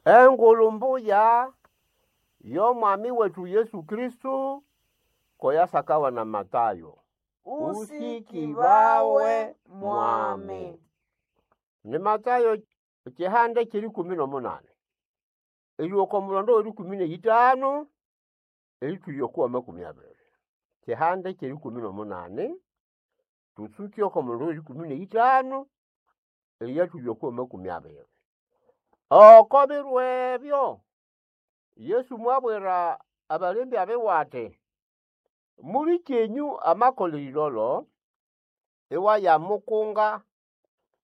Engulu mbuya y'omwami wetu Yesu Kristo ko yasakawa na Matayo. Usikibawe mwami. Ni Matayo ekihanda ky'erikumi n'omunani erihika oko mulondo w'erikumi n'eyĩtanu eritwĩrya oko 20. Kihanda ky'erikumi n'omunani tutsuke oko mulondo w'erikumi n'eyĩtanu eriyatwĩrya oko 20. Oko biro ebyo Yesu mwabwira abalembya biwe ati, mulikyenyu amakola erilolo, iwayamukunga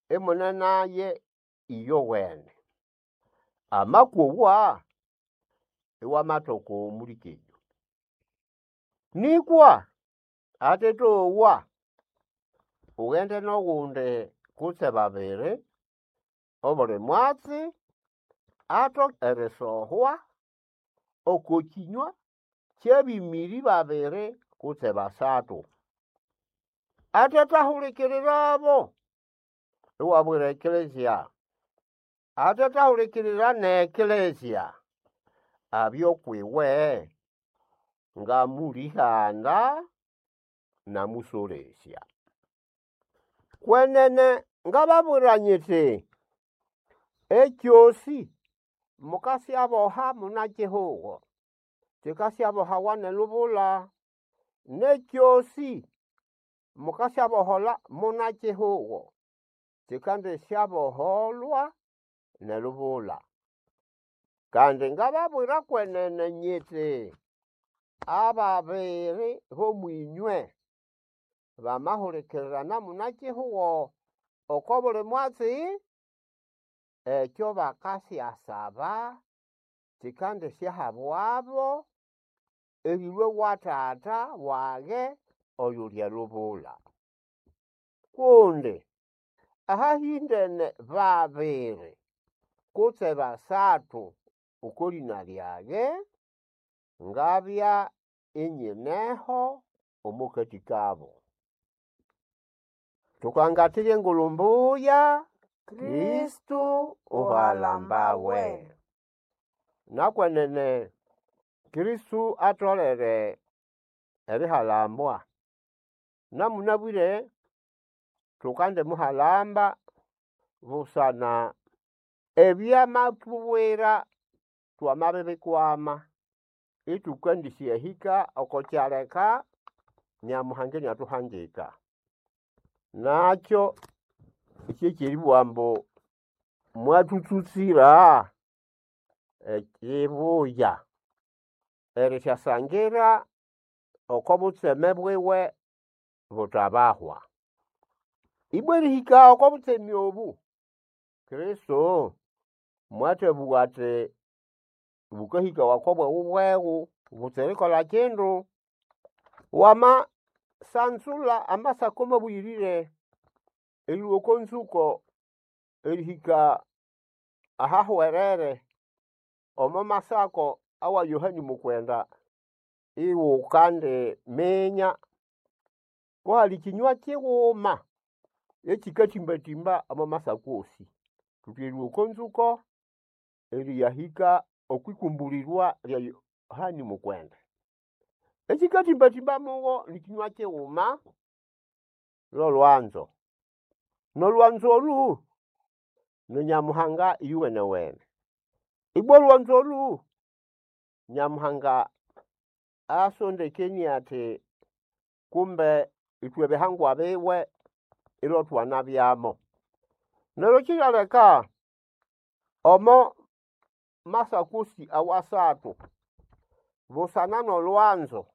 imunenaye iyowene. Amakowa iwamatoka omulikyenyu. Nĩkwa atetowa, ughende n'ogundi kutse babiri, obuli mwatsi atoke erisohwa oko kĩnywa ky'abĩmĩrĩ babiri kutse basathu. Atethahulikirirabo, iwabwira ekelezia. Atethahulikirira n'ekelezia, abye ukwiwe ngamũlĩhanda n'amũsolesya. Kwenene ngababwira nyiti, ekyosĩ mukasyaboha muna-kihugo, kikasyabohawa n'elubula, n'ekyosĩ mukasyabohola muna-kihugo, kikandisyaboholwa n'elubula. Kandi ngababwira kwenene nyiti, ababiri b'omwĩnywe bamahulikirirana muna-kihugo oko buli mwatsi, ekyo bakasyasaba kikandisyahabwabo erĩlũa wa Tata wage oyuli elubula. Kundi ahahĩndene babiri kutse basathu oko lĩna lyage, ngabya inyineho omo kati kabo. Tukangatira Engulu Mbuya, Kristo uhalambawe. Nakwenene Kristo atolere erihalambwa. Namunabwire tukandimuhalamba busana ebyamathubwira twamabibikwama ithukandisyathahika oko kyaleka Nyamuhanga iniathuhangika. Nakyo kyekyeribugha ambu mwathutsutsira ekibuya erisyasangira oko butseme bwiwe buthabahwa. Ibwa erihika oko butseme obu, Kristo mwathabugha ati bukahikawa oko bweghubweghu butsira erikolha kindu. Wamasanzulha Amasako mabuyirire erilhwa oko nzuko erihika ahahwerere omo masako awa Yohana Mukwenda, iwukandiminya kuhali kinywa kighuma ekikatimbatimba omo masako osi. Thuthi erilhwa oko nzuko eriyahika okwikumbulirwa lya Yohana Mukwenda. Ekikatimbatimba mugo nikinywa kighuma lolwanzo. Nolwanzo olhu ni Nyamuhanga iyuwenewene. Ibwa olwanzo olhu Nyamuhanga asondekenie athi kumbe ithwe bihangwa biwe ilotwanabyamo. Neryo kiryaleka omo masako osi awasathu, busana n'olwanzo,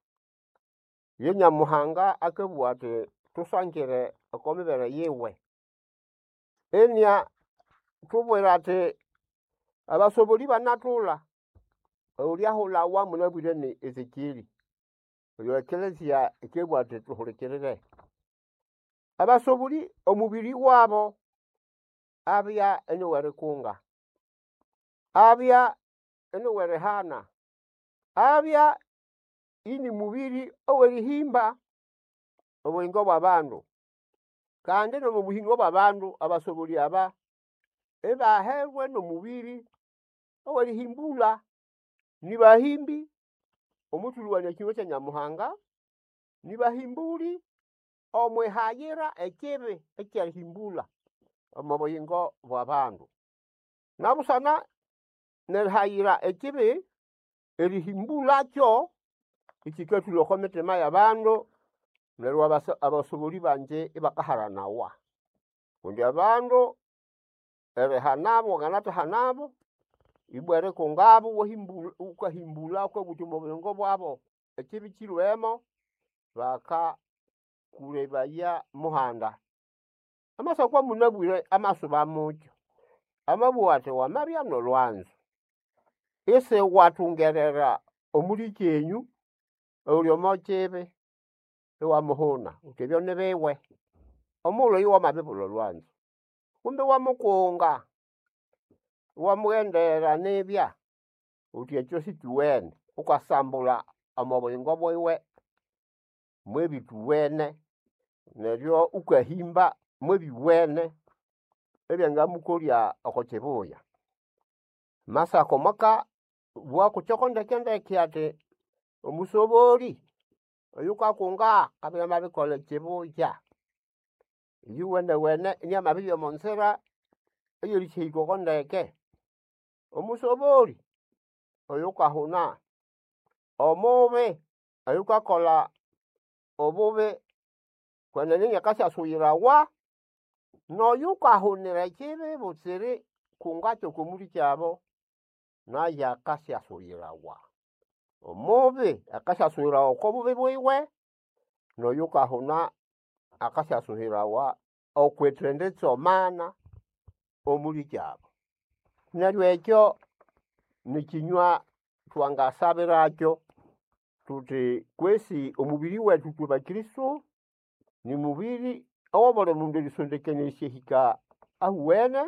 ye Nyamuhanga akabugha athi thusangire oko mibere yiwe. Iniathubwira athi abasobolĩ banathulha, oyulyahulawa munabwire ni Ezekieli, oyo ekelezia yikabugha athi thuhulikirire. Abasobolĩ omubiri wabo abya iniw'erikunga, abya iniw'erihana, abya ini mubiri ow'erihimba obuyingo bw'abandu. Kandi n'omo buhingo bw'abandu abasobolĩ aba ibaherwe n'omubiri Owerihimbula nibahimbi omwithulhuwania ekinywa kya Nyamuhanga, nibahimbuli omwihayira ekibi ekyerihimbula omo buyingo bw'abandu. Nabusana nerihayira ekibi, erihimbulakyo ikikathulha oko mitima y'abandu neryo abasobolĩ bangi ibakaharanawa. Kundi abandu erihanabo wanganathahanabo, ibwa erikungabo iwahimbula wukahimbula wukabugha wuthi omo buyingo bwabo ekibi kilhwemo, bakakulebaya muhanda. Amasako amunabwire amasuba mukyo, amabugha athi wamabya n'olwanzo, isiwathungerera omulikyenyu oyuli omo kibi iwamuhuna wuthi ebyo ni biwe, omughulhu oyo wamabibulha olwanzo. Kumbe iwamukunga, iwamughendera nibya wuthi ekyo sikyuwene, wukasambulha omo buyingo bwiwe mwebithuwene neryo wukahimba mwebyuwene ebyangamukolya oko kibuya. Amasako mwakabugha kukyoko ndeke-ndeke athi omusobolĩ oyukakunga akabya inamabirikolha ekibuya, iyuwenewene iniamabiribya omo nzira eyerisyahika oko ndeke. Omusobolĩ oyukahuna, omubi oyukakolha obubi kwenene iniakasyasuyirawa, n'oyukahunira ekibi butsira erikunga ky'oko mulikyabu, nayo akasyasuyirawa. Omubi akasyasuyirawa oko bubi bwiwe, n'oyukahuna akasyasuyirawa okwithenditsomana omulikyabu. Neryo ekyo nikinywa thwangasabirakyo thuthi kwesi omubiri wethu ithwe bakristo nimubiri owabuli mundu erisondekania erisyahika ahuwene,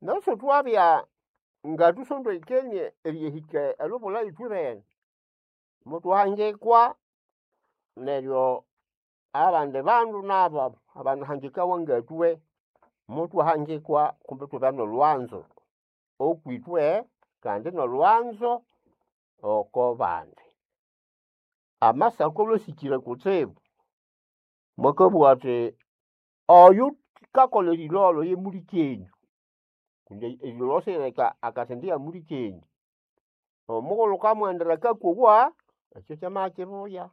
neryo isithwabya ngathusondekenie eriyahika elubula ithwebene, muthwahangikwa neryo abandi bandu nabo abanahangikawa ngatwe, muthwahangikwa kumbi ithwabya n'olwanzo okwithwe kandi n'olwanzo oko bandi. Amasako alwe asikire kutsibu, mwakabugha athi oyukakolha erilolho ye mulikyenyu kundi erilolho sirileka akathendigha mulikyenyu, omughulhu wukamughendera akakowa, ekyo kyamabya kibuya,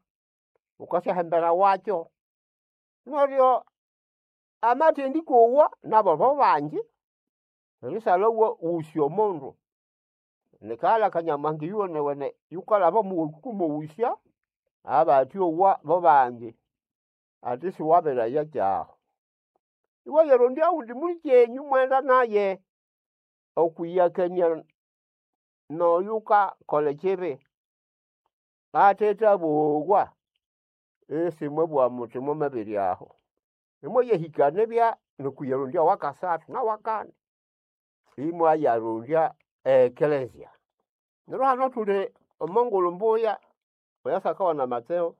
wukasyahambirawakyo. Neryo amathendikowa nabo bobangi, erisalha iwaghusya omundu, nikaghalha aka Nyamuhanga iyuwenewene yukalhaba omuwaku wukamughusya, abathyowa bobangi, athi isiwabiraya kyaho. Iwayarondya owundi mulikyenyu imughenda naye okwiyakania n'oyukakolha ekibi athethabowa, isimwabugha muthi mwamabiryaho. Imwayahika nibya n'okwiyarondya owakasathu n'owakani, imwayarondya e eklezia. Neryo hano thuli omo ngulhu mbuya eyasakawana Matseo,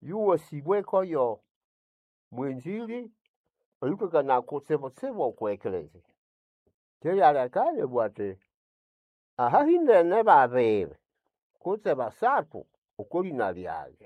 yuwasibweko yo mwenzĩrĩ oyukakanaya kutsibutsibu okwa eklezia. Kyeryaleka inabugha athi ahahĩndene babiri kutse basathu oko lĩna lyage.